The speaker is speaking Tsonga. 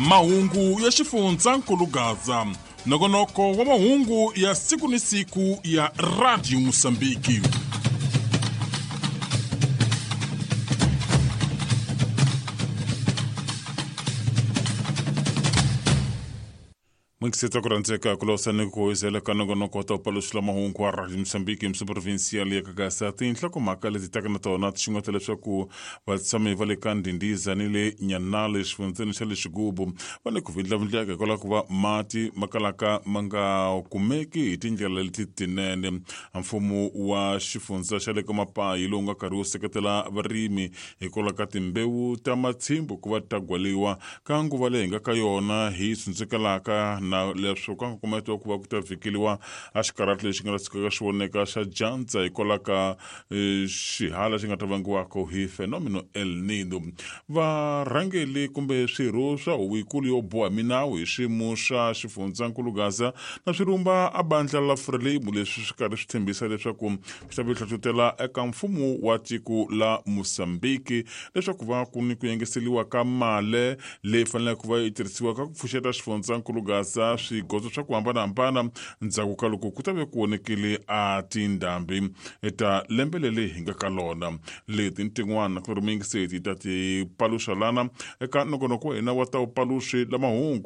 Mahungu ya xifundzankulu Gaza, nongonoko wa mahungu ya siku ni siku ya Radio Mosambiki. N'wingiseta ku rhandzeka ku losa ni ku hoyizela ka nongonoko wa ta paluxela mahungu wa Radio Mozambique msi provincial ya Kagasa. Tinhlokomhaka leti taka na tona ti xungeta leswaku vatshami va le ka Ndhindiza ni le Nyanale xifundzeni xa le Xigubu va le ku vindlavindleka hikwalaho ku va mati ma kalaka ma nga kumeki hi tindlela leti tinene. Mfumo wa xifundza xa le ka Mapayi lowu nga karhi wu seketela varimi hikwalaho ka timbewu ta matshimbu ku va ta gwaliwa ka nguva leyi hi nga ka yona hi tsundzukelaka na leswo ka nkongometo wa ku va ku ta vhikeliwa a xikarhati lexi nga ta sukaka xi voneka xa dyandza hikwalaho ka xihala xi nga ta vangiwaka hi fenomeno El Nino. Varhangeli kumbe swirho swa huvo yikulu yo boha minawu hi xiyimo xa xifundzankulu Gaza na swirumba a bandla la Frelimo leswi swi karhi swi tshembisa leswaku swi ta hlohlotela eka mfumo wa tiko la Mozambique leswaku va ku ni ku yengeseliwa ka male leyi faneleke ku va yi tirhisiwa ka ku pfuxeta xifundzankulu Gaza swigodzo swa ku hambanahambana ndzhaku ka loko ku ta ve ku vonekile a tindhambi ta lembe leri hi nga ka lona. Leti ni tin'wana ku ri miyingiseti ta ti paluxa lana eka nongonoko wa hina wa ta wupaluxi la mahungu.